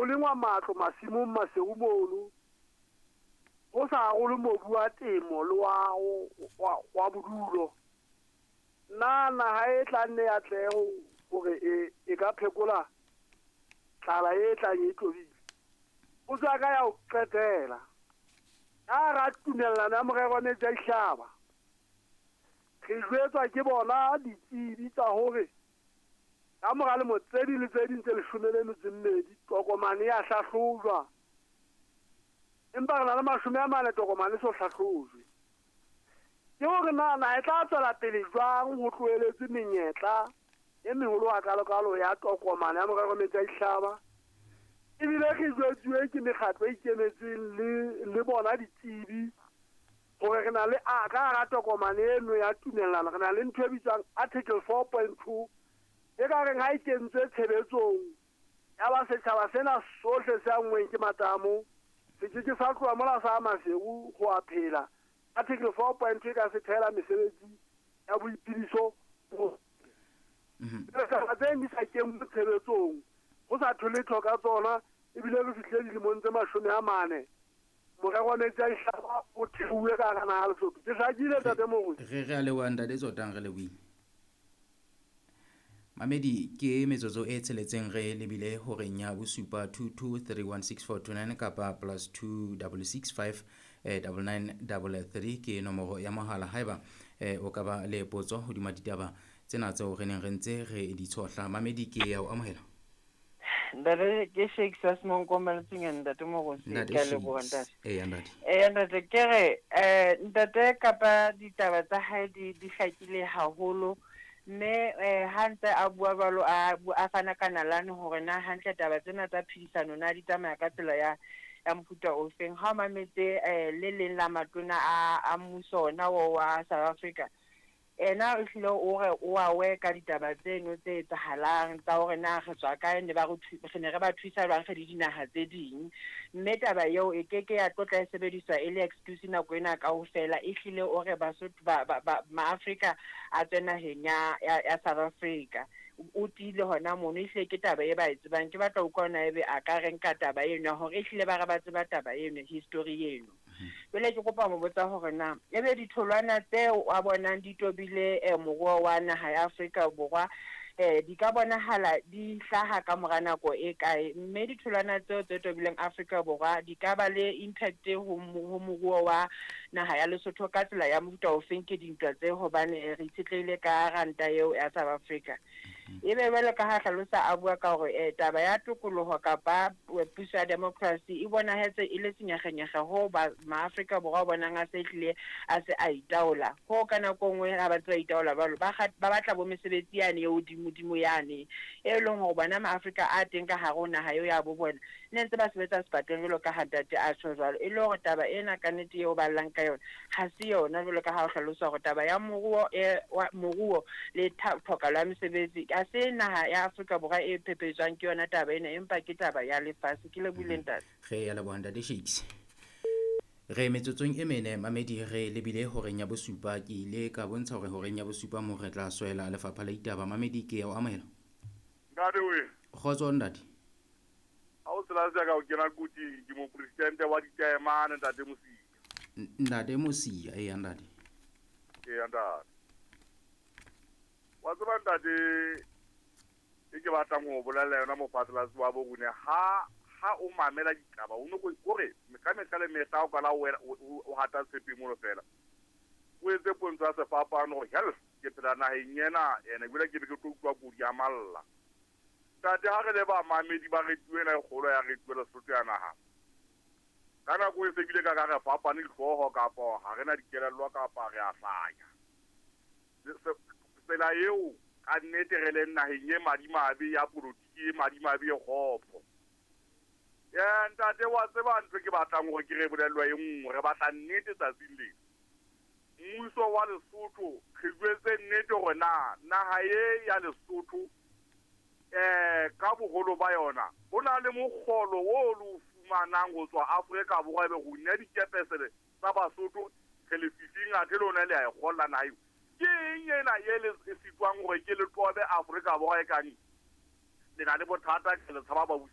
Ho lengwa matlo masimong Maseru mono, ho sa arolwe mobu wa temo le wa bodulo. Na naha e tla nne ya atlehe hore e ka phekola tlala e tlang e tlobile? Potso ya ka ya ho qetela, ka hara tumellano ya morero wa metsi a dihlaba, re jwetswa ke bona ditsebi tsa hore ka mora lemo tse ding le tse ding tse 12 tokomane ya hlahlojwa, empa re na le 40 tokomane so hlahlojwe. Ke hore na naha e tla tswela pele jwang ho tloheletswe menyetla e meholo hakalo-kalo ya tokomane ya morero wa metsi a dihlaba? Ebile re jwetsuwe ke mekgatlo e ikemetseng le bona ditsebi hore re na le ka hara tokomane eno ya tumellano, re na le ntho e bitswang article 4.2 e ka reng ha e kentswe tshebetsong ya ba setjhaba sena sohle se anngweng ke matamo se ke ke sa tloha mola sa Maseru ho a phela. Article 4.2 e ka se thehela mesebetsi ya boiphediso. Taba tse di sa kenngwe tshebetsong, ho sa thole letho ka tsona, ebile re fihlile dilemong tse 40 morero wa metsi a dihlaba o theuwe ka hara naha Lesotho. Ke hlakile, ntate Moruti? Re a leboha, ntate Tsotang, re lebohile. Mamedi, ke metsotso e 6 re lebile horeng ya bosupa. 22316429 kapa +2665 9933 ke nomoro ya mohala haeba o ka ba le potso hodima ditaba tsena tseo re neng re ntse re di tshohla. Mamedi, ke ya o amohela. Ntate, ke Shakes wa Semonkomeletseng, ntate Moruti. Ntate Ke a leboha, Shakes. Ntate. Eya, ntate. Eya, ntate, ke re ntate kapa ditaba tsa hae di hlakile haholo, mme ha ntse a bua jwalo, a fana ka nalane hore na hantle taba tsena tsa phedisano na di tsamaya ka tsela ya mofuta ofeng. Ha o mametse le leng la matona a mmuso ona o wa South Africa, ena o hlile o re o a we ka ditaba tseno tse etsahalang tsa hore na re tswa kae, ne ba re ne re ba thusa jwang re le dinaha tse ding, mme taba eo e keke ya tlotla e sebediswa e le excuse nako ena kaofela. E hlile o re Basotho ba Maafrika a tswe naheng ya South Africa, o tiile hona mono. Ehlile ke taba e ba e tsebang. Ke batla ho utlwa hona ebe a ka re nka taba eno ya hore ehlile ba re ba tseba taba eno, history eno. Jwale ke kopa ho botsa hore na ebe ditholwana tseo a bonang di tobile moruo wa naha ya Afrika Borwa di ka bonahala di hlaha ka mora nako e kae, mme ditholwana tseo tse tobileng Afrika Borwa di ka ba le impact ho moruo wa naha ya Lesotho ka tsela ya mofuta ofeng ke dintwa tse, hobane re itshetlehile ka ranta eo ya South Africa? Ebe jwalo ka ha hlalosa a bua ka hore taba ya tokoloho kapa puso ya democracy e bonahetse e le senyegenyege ho ba Maafrika Borwa bonang a se hlile a se a itaola, ho ka nako nngwe ha ba ntse ba itaola jwalo ba batla bo mesebetsi yane e hodimodimo yane e leng hore bona Maafrika a teng ka hare ho naha eo ya bo bona ne ntse ba sebetsa sepateng jwalo ka ha ntate a tjho jwalo. E le hore taba ena ka nnete eo ba llang ka yona ha se yona, jwalo ka ha o hlalosa hore taba ya moruo le tlhokahalo ya mesebetsi ha se naha ya Afrika Borwa e phepetswang ke yona taba ena, empa ke taba ya lefatshe. Ke lebohile, ntate. Re ya leboha, ntate Shakes. Re metsotsong e mene, mamedi, re lebile horeng ya bosupa. Ke ile ka bontsha hore horeng ya bosupa mo re tla swela lefapha la ditaba. Mamedi, ke ya o amohela. Ntate we. Kgotso, ntate. Ha o tsela tsa ka o kena kotsing, ke mopresidente wa ditaemane, ntate Mosia. Ntate Mosia, eya ntate. Eya ntate. Wa tseba ntate, e ke batlang ho bolella yona mophatlalatsi wa bo rona, ha o mamela ditaba o no kore ka mehla le mehla o kala o hata tshepe mono fela, o etse pontsho ya sefapano hore hell ke phela naheng ena, ene ebile ke be ke tlo utlwa kodi ya malla. Ntate, ha re le bamamedi ba radio ena e kgolo ya radio Lesotho ya naha, ka nako e se bile ka re fapane dihlooho kapa ha re na dikelello kapa re a hlanya. Tsela eo ka nnete re leng naheng e madimabe ya polotiki, e madimabe e kgopo. Ntate, wa tseba ntho ke batlang hore ke re bolellwa e nngwe, re batla nnete tsatsing lena. Mmuso wa Lesotho re jwetse nnete hore na naha e ya Lesotho ka boholo ba yona ho na le mokgolo o lo fumanang ho tswa Afrika Borwa, ebe ho nna dikepesele tsa Basotho re lefifing athe lona le a e kgolla naha eo. Ke eng ena e le sitwang hore ke le tobe Afrika Borwa e kang le na le bothata ke le tshaba babusi?